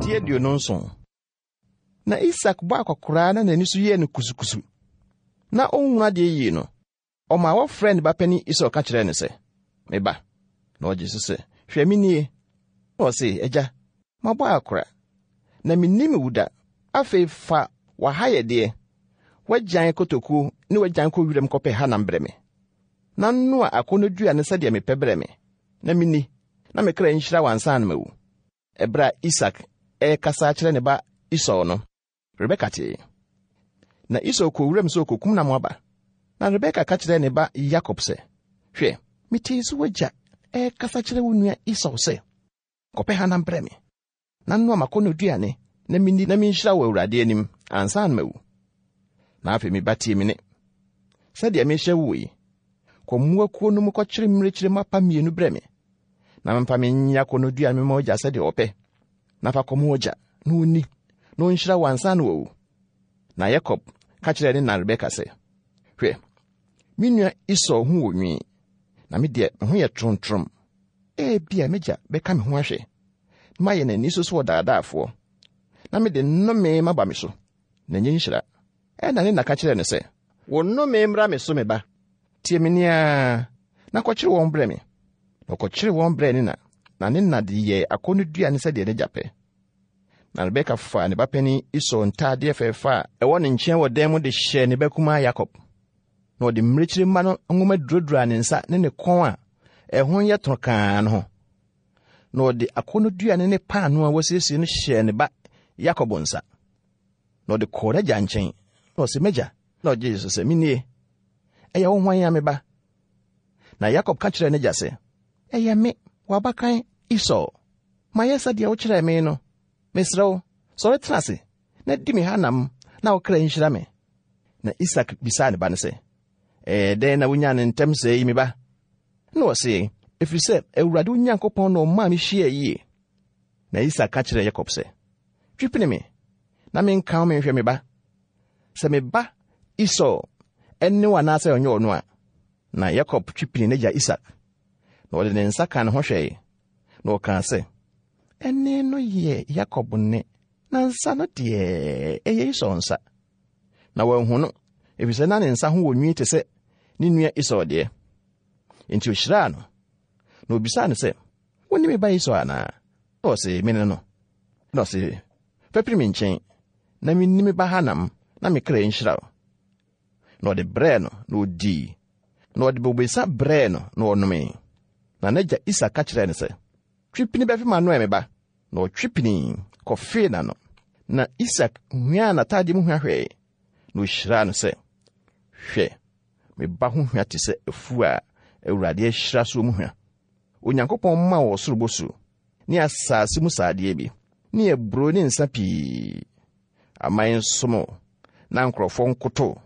Ti 27. Na Isak bɔɔ akwakoraa na n'ani so yɛɛ no kusukusu, na onhu adeɛ yie no, ɔmaa wɔfrɛɛ ne ba panin Esau ka kyerɛɛ no sɛ, Me ba. Na ɔgye so sɛ, Hwɛ, me nie. Na ɔse, Agya, mabɔ akora, na minnim wo da. Afei fa w'ahayɛdeɛ, w'agyan kotokuo ne w'agyan kɔ wiram kɔpɛ hanam brɛ me, na noa akɔnnɔduane sɛdeɛ mepɛ brɛ me, na minni, na me kra nhyira wo ansa na mawu. Ɛberɛ a Isak rekasa akyerɛ ne ba Esau no, Rebeka tee. Na Esau kɔɔ wuram sɛ ɔkɔkum nam aba. Na Rebeka ka kyerɛɛ ne ba Yakob sɛ, Hwɛ, metee sɛ w'agya rekasa kyerɛ wo nua Esau sɛ, 'Kɔpɛ hanam brɛ me, na noa m'akɔnnɔduane na minni na minhyira wo Awurade anim ansa na mawu. Na afei me ba tie me nne. Sɛdeɛ mehyɛ wo yi, kɔ mmoakuo no mu kɔkyere mmirekyire mapa mmienu brɛ me, na memfa menyɛ akɔnnɔduane mema w'agya sɛdeɛ ɔpɛ, na fa kɔma w'agya na ɔnni, na ɔnhyira wo ansa na wawu. Na Yakob ka kyerɛɛ ne na Rebeka sɛ, Hwɛ, me nua Esau ho wɔ nwi, na me deɛ me ho yɛ toromtorom. Ebia m'agya bɛka me ho ahwɛ, na mayɛ n'ani so sɛ ɔdaadaafoɔ, na mede nnome maba me so, na ɛnyɛ nhyira. Ɛnna ne na ka kyerɛɛ no sɛ, Wo nnome mmra me so, me ba. Tie me nne ara, na kɔkyere wɔn brɛ me. Na ɔkɔkyeree wɔn brɛɛ ne na, na ne na de yɛɛ akɔnnɔduane sɛdeɛ n'agya pɛ. Na Rebeka faa ne ba panin Esau ntaadeɛ fɛfɛ a ɛwɔ ne nkyɛn wɔ dan mu de hyɛɛ ne ba kumaa Yakob. Na ɔde mmirekyiri mma no nwoma duroduraa ne nsa ne ne kɔn a ɛho yɛ torokaa no ho. Na ɔde akɔnnɔduane ne paanoo a wasiesie no hyɛɛ ne ba Yakob nsa. Na ɔde kɔɔ n'agya nkyɛn, na ɔse, M'agya. Na ɔgyee so sɛ, Menie. Ɛyɛ wo hwan a, me ba? Na Yakob ka kyerɛɛ n'agya sɛ, Ɛyɛ me, w'abakan Esau. Mayɛ sɛdeɛ wokyerɛɛ me no. Mesrɛ wo, sɔre tena ase na di me hanam na wo kra nhyira me. Na Isak bisaa ne ba no sɛ, Ɛyɛɛ dɛn na wunyaa no ntɛm sɛɛ yi, me ba? Na ɔse, Ɛfiri sɛ Awurade wo Nyankopɔn na ɔmaa mehyiaa yie. Na Isak ka kyerɛɛ Yakob sɛ, Twi pene me, na menka wo menhwɛ me ba, sɛ me ba Esau ne wo anaasɛ ɔnyɛ ɔno a. Na Yakob twi pinii n'agya Isak, na ɔde ne nsa kaa ne ho hwɛe, na ɔkaa sɛ, Ɛnne no yɛ Yakob nne, na nsa no deɛ, ɛyɛ Esau nsa. Na wanhu no, efisɛ na ne nsa ho wɔ nwi te sɛ ne nua Esau deɛ. Enti ohyiraa no, na obisaa no sɛ, Wone me ba Esau anaa? Na ɔse, Mene no. Na ɔse, Fa piri me nkyɛn, na menni me ba hanam, na me kra nhyira wo. Na ɔde brɛɛ no, na odii. Na ɔde bobesa brɛɛ no, na ɔnomee. Na n'agya Isak ka kyerɛɛ no sɛ, Twe pini bɛfe m'ano ɛ, me ba. Na ɔtwe pinii kɔfee n'ano. Na Isak huaa n'atadeɛ mu hwa hwɛe, na ohyiraa no sɛ, Hwɛ, me ba ho hwa te sɛ afuo a Awurade ahyira soɔ mu hwa. Onyankopɔn mma wo ɔsoro bosuo, ne asase mu sradeɛ bi, ne aburoo ne nsa pii. Aman nsom wo, na nkurɔfoɔ nkoto wo.